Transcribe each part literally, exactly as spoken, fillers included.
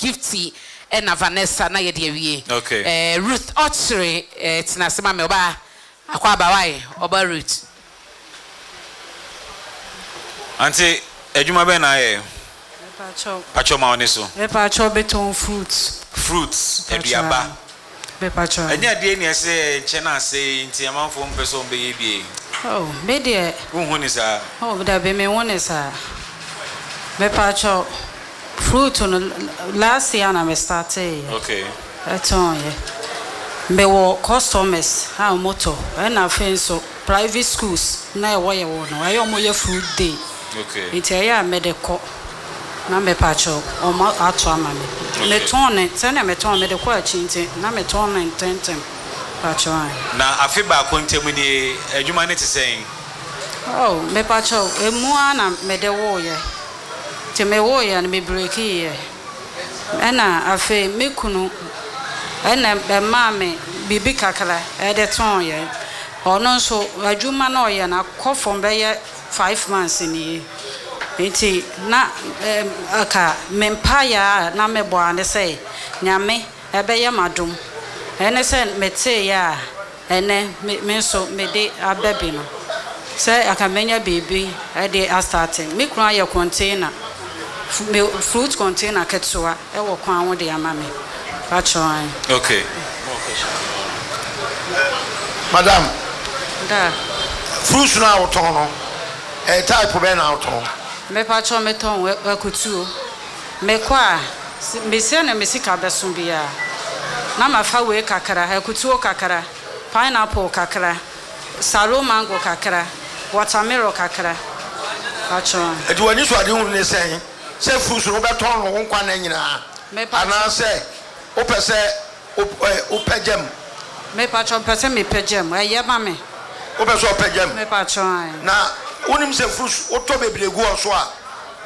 Gifty ɛna Vanessa na yɛde awie. Okay. Eh, Ruth Ɔkyere, eh, tena ase ma me. Ɔbaa akɔ aba wae, ɔba Ruth. Ante adwuma bɛn na ayɛ? Mepakyɛw. Pakyɛw, ma wo ne so. Mepakyɛw, betɔn fruits. Fruits, aduaba. Mepakyɛw. Ɛnyɛ adeɛ ni ɛsɛ nkyɛn na ase nti amanfoɔ mpɛ sɛ ɔmbɛyɛ bie? Oh, me deɛ. Wohu ne saa? Oh, dabi, me hu ne saa. Mepakyɛw, fruit no, last year na me startee yɛ. Okay. Ɛtɔn yɛ. Mewɔ customers a wɔtɔ, ɛna afei nso private schools na ɛwɔ yɛ wɔ no, ɛyɛ ɔmo yɛ fruit day. Okay. Nti ɛyɛ a mede kɔ na mepakyɛw ɔmo ato ama me. Metɔn ne sɛnea metɔn, mede kɔ akyi nti na metɔn ne ntɛntɛm, pakyɛw ayi. Na afe baako ntam nie, adwuma ne te sɛn? Oh, mepakyɛw, emu ara na mede woyɛ, nti mewoyɛ no, me breakiiɛ, ɛna afei me kunu ɛna ɛmaa me biribi kakra ɛde tɔn yɛ. Ɔno nso adwuma na ɔyɛ no akɔ fam bɛyɛ five months nie, nti na ɛm aka me mpaeɛ a na mebɔ a ne sɛ Nyame ɛbɛyɛ m'adom, ɛne sɛ meteeɛ a ɛnɛ me me nso mede aba bi no sɛ aka menya biribi ɛde astart. Me kunu ayɛ container, me fruit container ketewa ɛwɔ kwan ho de ama me, pakyɛw. Okay. Madam. Da. Fruits no a wotɔn no, ɛyɛ type bɛn na wotɔn? Mepakyɛw, metɔn akutuo. Mekɔ a, mesia na me sika bɛso biara na mafa wei kakra, akutuo kakra, pineapple kakra, salo mango kakra, watermelon kakra, pakyɛw. Ɛti w'ani so ade hunu ne sɛn sɛ fruits no wobɛtɔn no wo nkwa nna nyinaa anaasɛ wopɛ sɛ wopɛ gyam? Mepakyɛw, mpɛ sɛ mepɛ gyam, ɛyɛ ma me. Wopɛ sɛ ɔpɛ gyam? Mepakyɛw. Na wonim sɛ fruits wotɔ bebree gu hɔ so a,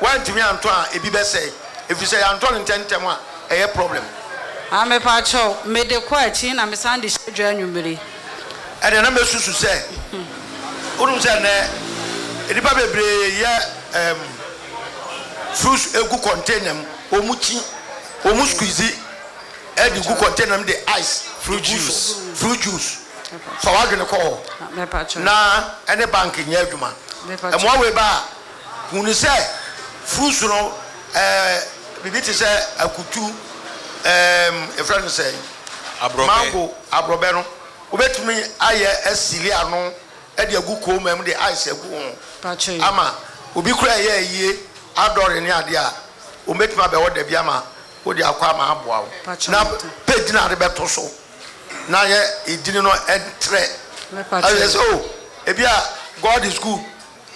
woantumi antɔ a, ebi bɛsɛe, ɛfiri sɛ yɛantɔ no ntɛmntɛm a, ɛyɛ problem. Ah, mepakyɛw, mede kɔ akyi na mesan de hyɛ dwa anwummere. Ɛdeɛ na mɛsusu sɛ wonim sɛ nnɛ nnipa bebree yɛ um, fruits egu container mu, wɔn kyi, wɔn squeeze ɛde gu container mu de ice fruit gu so. Juice. Fruit juice, fa w'adwene kɔ hɔ Mepakyɛw. Na ɛne bank nyɛ adwuma. Mepakyɛw. Ɛmoa wei ba a hunu sɛ fruits no, ɛɛ biribi te sɛ akutu, ɛɛm efrɛ no sɛ aborɔbɛ. Mango, aborɔbɛ no, wobɛtumi ayɛ aseal ano ɛde agu kooma mu de ice agu ho Pakyɛw. ama obi kura ɛyɛ ayie adɔre ne adeɛ a, wɔbɛtumi abɛwɔ dabi ama wode akɔ ama aboa wo. Pakyɛw. Na page na ade bɛto so na yɛ edini no ɛntrɛ. Mepakyɛw. Ɛyɛ sɛ o ebi a God is Good,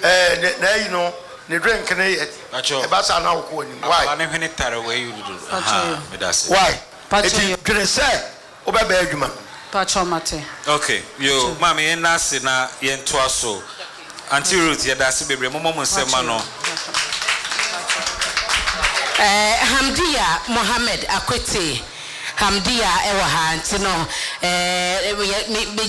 ɛɛ ne na ayi no ne drink ne yɛ Pakyɛw. ɛba saa na wokɔ anim. Why? Akwadaa ne hwene tare wɔ ayi dodo. Pakyɛw. Aha, meda ase. Why? Pakyɛw. Eti dwene sɛ wobɛbɛn adwuma no. Pakyɛw, mate. Okay, yo, maame, yɛn na ase na yɛntoa so. Auntie Ruth, yɛda ase bebree. Mommɔ mo nsɛm ma no. Eh, Hamdia Mohammed Akwete, Hamdia ɛwɔ ha nti no, eh, me me